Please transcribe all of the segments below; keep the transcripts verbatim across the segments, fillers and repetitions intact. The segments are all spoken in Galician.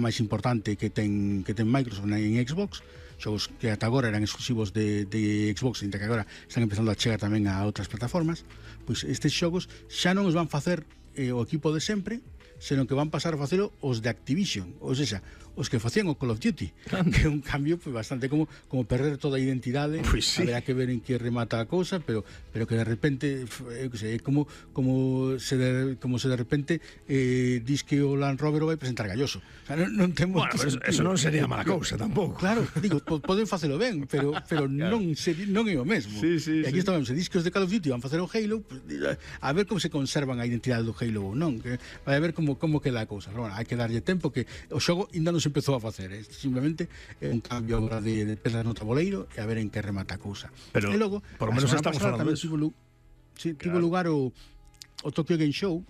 máis importante que ten que ten Microsoft en Xbox, xogos que ata agora eran exclusivos de, de Xbox, e que agora están empezando a chegar tamén a outras plataformas. Pois estes xogos xa non os van facer eh, o equipo de sempre, senón que van pasar a facelo os de Activision, ou seja, os que facían o Call of Duty, que é un cambio pues, bastante como como perder toda a identidade. Pues sí. Haberá que ver en que remata a cousa, pero pero que de repente eu que sei, como como se de, como se de repente eh, dis que o Land Rover o vai presentar Galloso. O sea, non, non temos bueno, eso, eso non sería mala cousa tampouco. Claro, digo, poden facelo ben, pero pero claro. non se, non é o mesmo. Sí, sí, e aquí sí. estamos, se dis que os de Call of Duty van facer o Halo, pues, a ver como se conservan a identidade do Halo ou non, que vai a ver como como queda a cousa. Pero, bueno, hai que darlle tempo, que o xogo ainda non se empezou a facer, é simplemente é un cambio agora de, de pedras no tabuleiro e a ver en que remata a cousa. Pero e logo, por lo menos estamos falando de eso. Tivo, sí, tivo claro. lugar o, o Tokyo Game Show,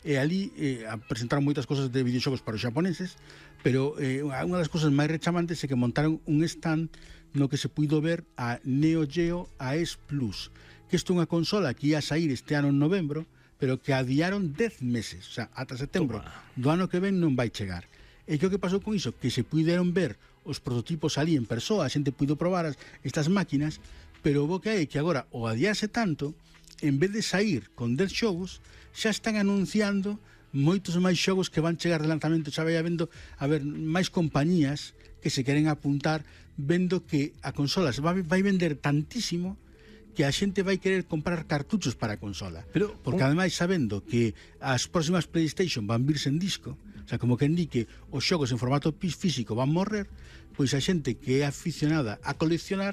e ali eh, presentaron moitas cosas de videoxogos para os xaponeses, pero eh, unha das cosas máis rechamantes é que montaron un stand no que se puido ver a Neo Geo A E S Plus, que isto é unha consola que ia a sair este ano en novembro, pero que adiaron dez meses, o sea, ata setembro Toma. do ano que ven non vai chegar. E que o que pasou con iso? Que se puideron ver os prototipos ali en persoa, a xente puido probar as, estas máquinas, pero o bo que hai que agora o adiase tanto, en vez de sair con dez xogos, xa están anunciando moitos máis xogos que van chegar de lanzamento, xa vai habendo a ver máis compañías que se queren apuntar, vendo que a consola se vai, vai vender tantísimo que a xente vai querer comprar cartuchos para a consola. Pero, porque un... ademais sabendo que as próximas PlayStation van virse en disco, o sea, como que indique os xogos en formato físico van morrer, pois a xente que é aficionada a coleccionar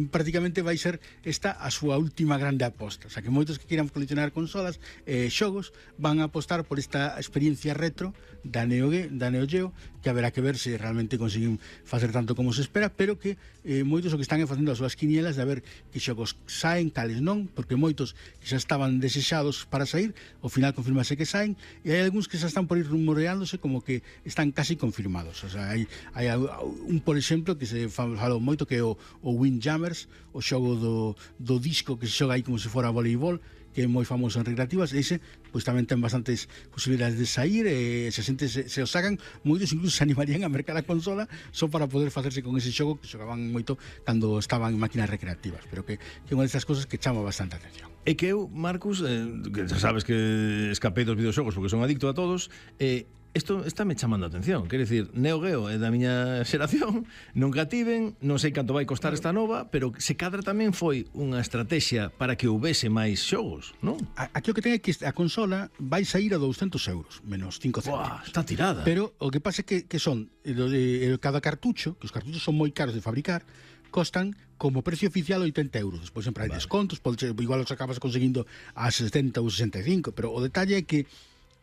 prácticamente vai ser esta a súa última grande aposta. O sea, que moitos que quieran coleccionar consolas e eh, xogos van a apostar por esta experiencia retro da Neo, da Neo Geo, que haberá que ver se realmente consiguen facer tanto como se espera, pero que eh, moitos o que están facendo as súas quinielas de a ver que xogos saen, cales non, porque moitos que xa estaban desexados para sair, ao final confirmase que saen, e hai algúns que xa están por ir rumoreándose como que están casi confirmados. O sea, hai, hai un, por exemplo, que se falou moito, que é o, o Windjammers, o xogo do, do disco que se xoga aí como se fora voleibol, que é moi famoso en recreativas. Ese, pois tamén ten bastantes posibilidades de sair, e se a xente se, se o sacan, moitos incluso se animarían a mercar a consola só para poder facerse con ese xogo que xogaban moito cando estaban en máquinas recreativas, pero que, que é unha destas cosas que chama bastante atención. E que eu, Marcus, eh, que xa sabes que escapei dos videoxogos porque son adicto a todos, eh, isto está me chamando a atención. Quer dicir, Neo Geo é da miña xeración, nunca tiven, non sei canto vai costar esta nova, pero se cadra tamén foi unha estrategia para que houvese máis xogos, non? Aquí o que ten é que a consola vai sair a douscentos euros, menos cinco céntimos. Buah, está tirada. Pero o que pasa é que, que son, eh, cada cartucho, que os cartuchos son moi caros de fabricar, costan como precio oficial oitenta euros. Despois sempre hai vale. descontos, pode ser, igual os acabas conseguindo a setenta ou sesenta e cinco, pero o detalle é que,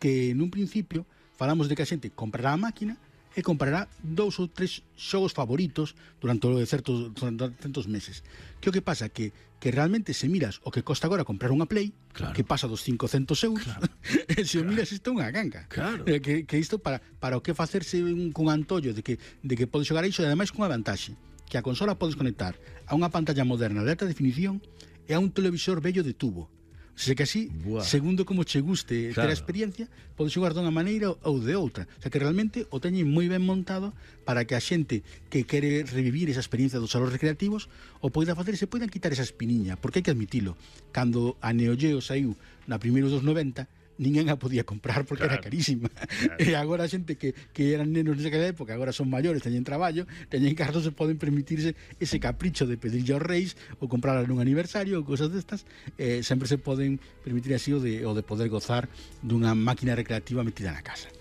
que nun principio falamos de que a xente comprará a máquina e comprará dous ou tres xogos favoritos durante certos, durante certos meses. Que o que pasa? Que, que realmente se miras o que costa agora comprar unha Play, claro. que pasa dos cincocentos euros, claro. e se claro. o miras isto é unha ganga. Claro. Que, que isto para, para o que facerse un, cun antollo de que, de que podes xogar iso, e ademais cunha vantaxe, que a consola podes conectar a unha pantalla moderna de alta definición e a un televisor vello de tubo. O sea que así, Buah. segundo como che guste claro. ter a experiencia, podes xogar dunha maneira ou de outra. O sea que realmente o teñen moi ben montado para que a xente que quere revivir esa experiencia dos salóns recreativos o poida facer e se poidan quitar esa espiniña, porque hai que admitilo, cando a Neo Geo saiu na primeiro dos noventa, ninguén a podía comprar porque claro, era carísima. Claro. E agora a xente que, que eran nenos nesa época, agora son maiores, teñen traballo, teñen cartos, se poden permitirse ese capricho de pedirlle aos reis ou comprarla nun aniversario ou cosas destas, eh, sempre se poden permitir así o de, o de poder gozar dunha máquina recreativa metida na casa.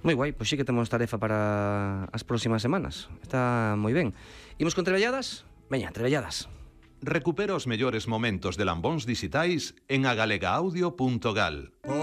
Moi guai, pois sí que temos tarefa para as próximas semanas. Está moi ben. Imos con trebelladas? Veña, trebelladas. Recupera os mellores momentos de Lambóns Dixitais en agalega audio punto gal.